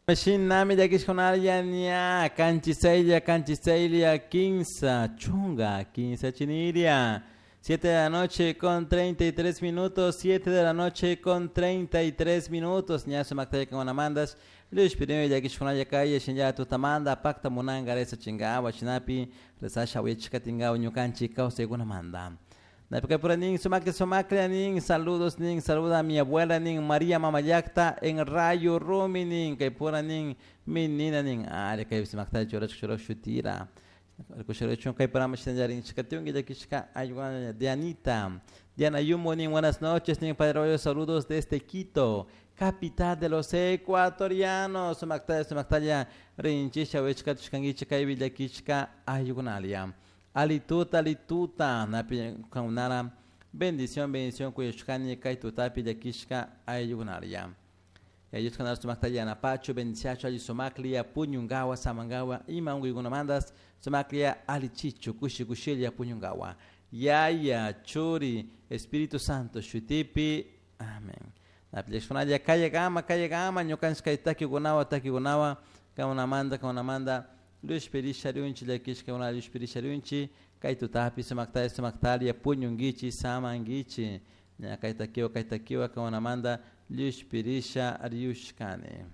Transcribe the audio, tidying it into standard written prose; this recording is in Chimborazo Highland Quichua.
Shinami llakishkunalla ña kanchisaylla kanchisaylla kinsa chunga kinsa chiniria. 7 de la noche con 33 minutos, 7 de la noche con 33 minutos. Ña sumaktalla kangunamandas. Luis Pirino llakishkunalla kaya shinlla tutamanda pakta munanga reza chingawa shinapi rezasha uyachikatingawa ñukanchik kawsaykunamanda. Napikapura nin sumakla sumakla nin saludos nin saluda a mi abuela nin María Mamayacta en Rayo Rumi nin kaypura nin minina nin ari kay sumakta churach churach shutira. Kushurachun kaypura mashinallarin chikatiunki llakishka ayuana Dianita. Diana Yumo nin buenas noches nin Padre Rollo saludos desde Quito, capital de los ecuatorianos. Sumaktalla sumaktalla rinchisha wichkatushkankichik kaypi llakishka ayukunalia. Alituta, alituta, napi kangunara, bendición, bendición, kuyashkani, kay tutapi llakishka ayukunaria. Yayushkanara sumaktalla yanapachu, bendiciachu, alli sumaklia, puñungawa, samangawa, ima unquykunamantas, sumaklia, alichichu, kushi kushilla, puñungawa. Yaya, Churi, Espíritu Santo, shutipi, amén. Napi llakishkunalla, kayagama, kayagama, ñukanchik kay takikunawa, takikunawa, kangunamanta, kangunamanta, Lushpirisha riunchi llakishka una lushpirisha riunchi kay tutapi sumaktalla sumaktalla puñunkichik samankichik ña kay takiwa kay takiwa kangunamanta llushpirisha riushkani.